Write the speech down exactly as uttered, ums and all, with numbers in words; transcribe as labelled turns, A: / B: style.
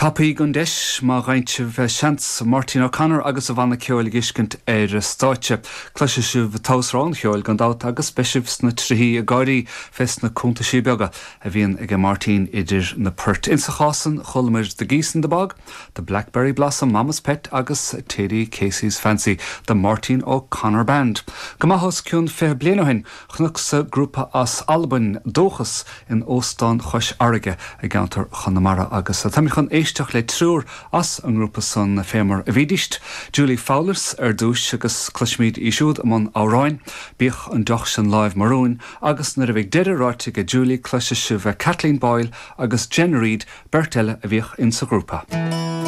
A: Tapaigh an deis má fhaigheann sibh seans Máirtín O'Connor agus a bhanna ceoil a fheiscint ar stáitse. Cloisfidh sibh togha an cheoil gan dabht agus beidh sibh sna trithí ag gáirí fés na cuntaisí beaga a bhíonn ag Máirtín idir na poirt. Insa chás san chualamar The Geese in the Bog, The Blackberry Blossom Mama's Pet agus Thady Casey's Fancy, the Martin O'Connor Band. Go maith os cionn fiche bliain ó shin chonacsa grúpa as Albain Dóchas in Óstán Chois Fharraige i gceantar Chonamara agus tá chun éisteacht le triúr as an ngrúpa san fé mar a bhídíst. Julie Fowlis ar dtús agus cloisfimid í siúd i mbun amhráin, Bíodh an deoch sin láimh mo rúin, agus nuair a bheidh deireadh ráite ag Julie cloisfidh sibh Kathleen Boyle agus Jen Reid beirt eile a bhíodh insa ghrúpa.